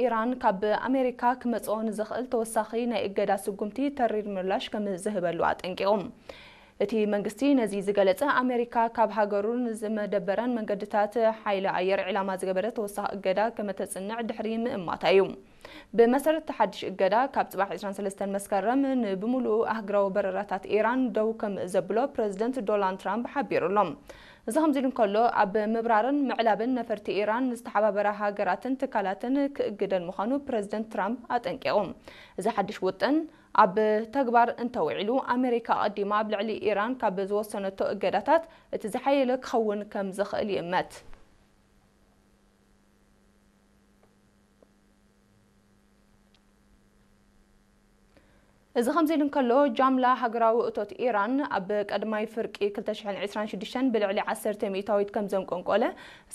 ኢራን ካብ ኣሜሪካ ክመጽኦ ንዝኽእል ተወሳኺ ናይ እገዳ ስጉምቲ ተሪር ምላሽ ከም ዝህበሉ ኣጠንቂቑ። እቲ መንግስቲ ነዚ ዝገለጸ፣ ኣሜሪካ ካብ ሃገሩ ንዝመደበረን መንገድታት ሓይሊ ኣየር ዒላማ ዝገበረ ተወሳኺ እገዳ ከመተጽንዕ ድሕሪ ምእማታ እዩ። ብመሰረት እቲ ሓድሽ እገዳ፣ ካብ ጽባሕ ዕስራን ሰለስተን መስከረም ንብምሉኡ ኣህጉራዊ በረራታት ኢራን ደው ከም ዘብሎ ፕረዚደንት ዶናልድ ትራምፕ ሓቢሩ ኣሎ። እዚ ከምዚ ኢሉ እንከሎ፣ ኣብ ምብራርን ምዕላብን ነፈርቲ ኢራን ንዝተሓባበራ ሃገራትን ትካላትን ክእግደን ምዃኑ ፕረዚደንት ትራምፕ ኣጠንቂቑ። እዚ ሓድሽ ውጥን ኣብ ተግባር እንተውዒሉ፣ ኣሜሪካ ኣቐዲማ ኣብ ልዕሊ ኢራን ካብ ዝወሰነቶ እገዳታት እቲ ዝሓየለ ክኸውን ከም ዝኽእል ይእመት። እዚ ከምዚ ኢሉ እንከሎ፣ ጃምላ ሃገራዊ እቶት ኢራን ኣብ ቀዳማይ ፍርቂ ክልተ ሽሕን ዕስራን ሽዱሽተን ብልዕሊ ዓሰርተ ሚእታዊት ከም ዘንቆንቆለ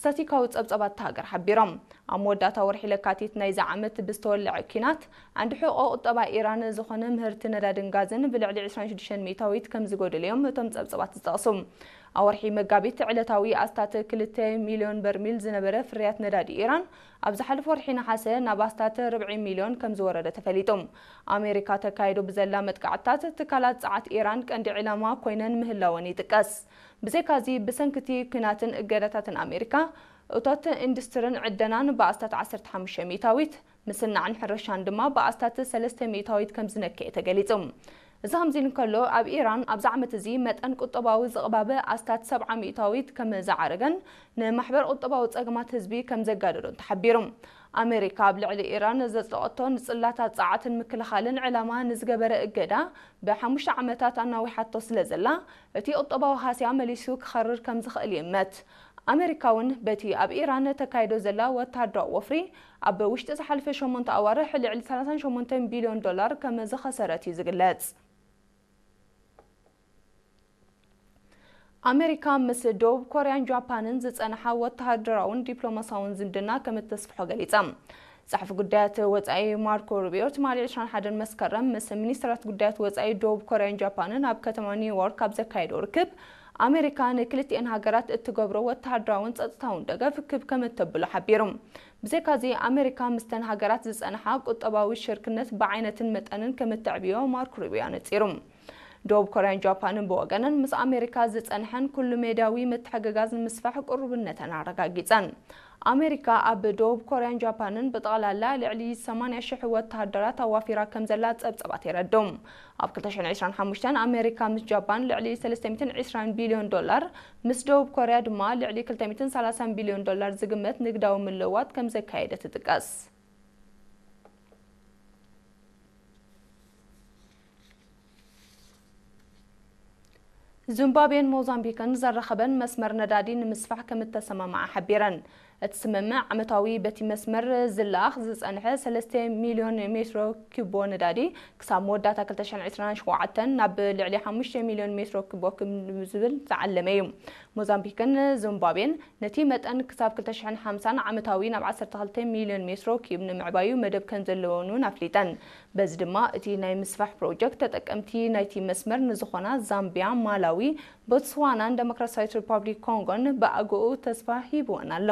ስታቲካዊ ጸብጻባት እታ ሃገር ሓቢሮም። ኣብ መወዳእታ ወርሒ ለካቲት ናይዚ ዓመት ብዝተወልዐ ኲናት፣ ዓንዲ ሕቖ ቁጠባ ኢራን ዝኾነ ምህርቲ ነዳድን ጋዝን ብልዕሊ ዕስራን ሽዱሽተን ሚእታዊት ከም ዝጎደለዮም እቶም ጸብጻባት ዝጠቕሱ። ኣብ ወርሒ መጋቢት፣ ዕለታዊ ኣስታት ክልተ ሚልዮን በርሚል ዝነበረ ፍርያት ነዳዲ ኢራን፣ ኣብ ዝሓለፈ ወርሒ ነሓሰ ናብ ኣስታት ርብዒ ሚልዮን ከም ዝወረደ ተፈሊጡ። ኣሜሪካ ተካይዶ ብዘላ መጥቃዕትታት፣ ትካላት ጸዓት ኢራን ቀንዲ ዒላማ ኮይነን ምህላወን ይጥቀስ። ብዘይካዚ፣ ብሰንኪ እቲ ኲናትን እገዳታትን ኣሜሪካ፣ እቶት ኢንዱስትርን ዕደናን ብኣስታት ዓሰርተ ሓሙሽተ ሚእታዊት፣ ምስናዕን ሕርሻን ድማ ብኣስታት ሰለስተ ሚእታዊት ከም ዝነከየ ተገሊጹ። እዚ ከምዚ ኢሉ እንከሎ፣ ኣብ ኢራን ኣብዚ ዓመት እዚ መጠን ቁጠባዊ ዝቕባበ ኣስታት ሰብዓ ሚእታዊት ከም ዝዓረገን ንማሕበር ቁጠባዊ ጸገማት ህዝቢ ከም ዘጋደዶን ተሓቢሩ። ኣሜሪካ ኣብ ልዕሊ ኢራን ዘጽደቐቶ ንጽላታት ጸዓትን ምክልኻልን ዕላማ ንዝገበረ እገዳ ብሓሙሽተ ዓመታት ኣናዊሓቶ ስለ ዘላ፣ እቲ ቁጠባዊ ሃስያ መሊሱ ክኸርር ከም ዝኽእል ይእመት። ኣሜሪካ እውን በቲ ኣብ ኢራን ተካይዶ ዘላ ወተሃደራዊ ወፍሪ፣ ኣብ ውሽጢ ዝሓለፈ ሸሞንተ ኣዋርሕ ልዕሊ ሰላሳን ሸሞንተን ቢልዮን ዶላር ከም ዝኸሰረት እዩ ዝግለጽ። ኣሜሪካ ምስ ደቡብ ኮርያን ጃፓንን ዝጸንሓ ወተሃደራውን ዲፕሎማሳውን ዝምድና ከም እተስፍሖ ገሊጻ። ጸሓፊ ጉዳያት ወጻኢ ማርኮ ሩቢዮ ትማሊ ዕስራን ሓደን መስከረም ምስ ሚኒስትራት ጉዳያት ወጻኢ ደቡብ ኮርያን ጃፓንን ኣብ ከተማ ኒውዮርክ ኣብ ዘካየዶ ርክብ፣ ኣሜሪካ ንክልቲኤን ሃገራት እትገብሮ ወተሃደራውን ጸጥታውን ደገፍ ክብ ከም እተብሎ ሓቢሩ። ብዘይካዚ፣ ኣሜሪካ ምስተን ሃገራት ዝጸንሓ ቁጠባዊ ሽርክነት ብዓይነትን መጠንን ከም እተዕብዮ ማርኮ ሩቢዮ ኣነጺሩ። ደቡብ ኮርያን ጃፓንን ብወገነን፣ ምስ ኣሜሪካ ዝጸንሐን ኩሉ ሜዳዊ ምትሕግጋዝ ንምስፋሕ ቅሩብነተን ኣረጋጊጸን። ኣሜሪካ ኣብ ደቡብ ኮርያን ጃፓንን ብጠቕላላ ልዕሊ ሰማንያ ሽሕ ወተሃደራት ኣዋፊራ ከም ዘላ ጸብጻባት የረድኡ። ኣብ ክልተ ሽሕን ዕስራን ሓሙሽተን ኣሜሪካ ምስ ጃፓን ልዕሊ ሰለስተ ሚእትን ዕስራን ቢልዮን ዶላር፣ ምስ ደቡብ ኮርያ ድማ ልዕሊ ክልተ ሚእትን ሰላሳን ቢልዮን ዶላር ዝግመት ንግዳዊ ምልውዋጥ ከም ዘካየደ ትጥቀስ። ዚምባብዌን ሞዛምቢክን ዘራኸበን መስመር ነዳዲ ንምስፋሕ ከም እተሰማምዓ ሓቢረን። እቲ ስምምዕ ዓመታዊ በቲ መስመር ዝለኣኽ ዝጸንሐ ሰለስተ ሚልዮን ሜትሮ ኪቦ ነዳዲ ክሳብ መወዳእታ ክልተ ሽሕን ዕስራን ሸውዓተን ናብ ልዕሊ ሓሙሽተ ሚልዮን ሜትሮ ኪቦ ክብ ዝብል ዝዓለመ እዩ። ሞዛምቢክን ዚምባብዌን ነቲ መጠን ክሳብ ክልተ ሽሕን ሓምሳን ዓመታዊ ናብ ዓሰርተ ክልተ ሚልዮን ሜትሮ ኪዩብ ንምዕባዩ መደብ ከም ዘለወን እውን ኣፍሊጠን። በዚ ድማ እቲ ናይ ምስፋሕ ፕሮጀክት ተጠቀምቲ ናይቲ መስመር ንዝኾና ዛምቢያ፣ ማላዊ፣ ቦትስዋናን ደሞክራሲያዊት ሪፓብሊክ ኮንጎን ብኣግኡ ተስፋ ሂብወን ኣሎ።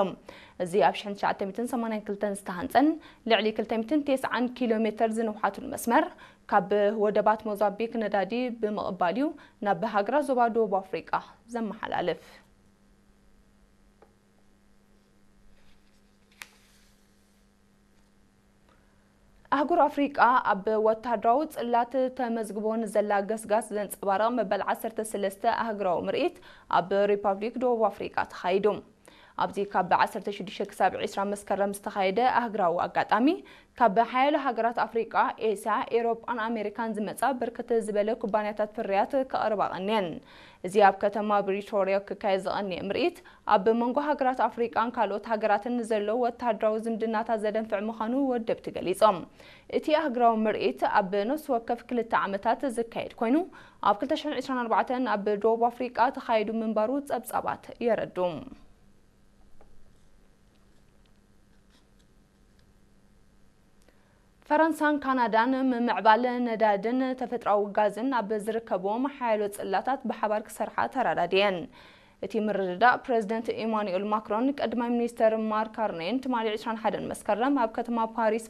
እዚ ኣብ ሽሕን ትሽዓተ ሚእትን ሰማንያን ክልተን ዝተሃንጸን ልዕሊ ክልተ ሚእትን ተስዓን ኪሎ ሜተር ዝንውሓቱን መስመር፣ ካብ ወደባት ሞዛምቢክ ነዳዲ ብምቕባል እዩ ናብ ሃገራት ዞባ ደቡብ ኣፍሪቃ ዘመሓላልፍ። ኣህጉር ኣፍሪቃ ኣብ ወተሃደራዊ ጽላት ተመዝግቦ ንዘላ ገስጋስ ዘንጸባርቕ መበል ዓሰርተ ሰለስተ ኣህጉራዊ ምርኢት ኣብ ሪፓብሊክ ደቡብ ኣፍሪቃ ተኻይዱ። ኣብዚ ካብ ዓሰርተ ሽዱሽተ ክሳብ ዕስራ መስከረም ዝተኻየደ ኣህጉራዊ ኣጋጣሚ፣ ካብ ሓያሎ ሃገራት ኣፍሪቃ፣ ኤስያ፣ ኤውሮጳን ኣሜሪካን ዝመጻ ብርክት ዝበለ ኩባንያታት ፍርያት ከቕርባ ቀንየን። እዚ ኣብ ከተማ ፕሪቶርያ ክካየድ ዝቐንየ ምርኢት፣ ኣብ መንጎ ሃገራት ኣፍሪቃን ካልኦት ሃገራትን ንዘሎ ወተሃደራዊ ዝምድናታት ዘደንፍዕ ምዃኑ ወደብቲ ገሊጾም። እቲ ኣህጉራዊ ምርኢት ኣብ ነፍሲ ወከፍ ክልተ ዓመታት ዝካየድ ኮይኑ፣ ኣብ ክልተ ሽሕን ዕስራን ኣርባዕተን ኣብ ደቡብ ኣፍሪቃ ተኻይዱ ምንባሩ ጸብጻባት የረዱ። ፈረንሳን ካናዳን ምምዕባል ነዳድን ተፈጥሮኣዊ ጋዝን ኣብ ዝርከብዎም ሓያሎ ጽላታት ብሓባር ክሰርሓ ተራዳድየን። እቲ ምርድዳእ ፕረዚደንት ኢማኑኤል ማክሮን ቀዳማይ ሚኒስተር ማርክ ካርኔን ትማሊ ዕስራን ሓደን መስከረም ኣብ ከተማ ፓሪስ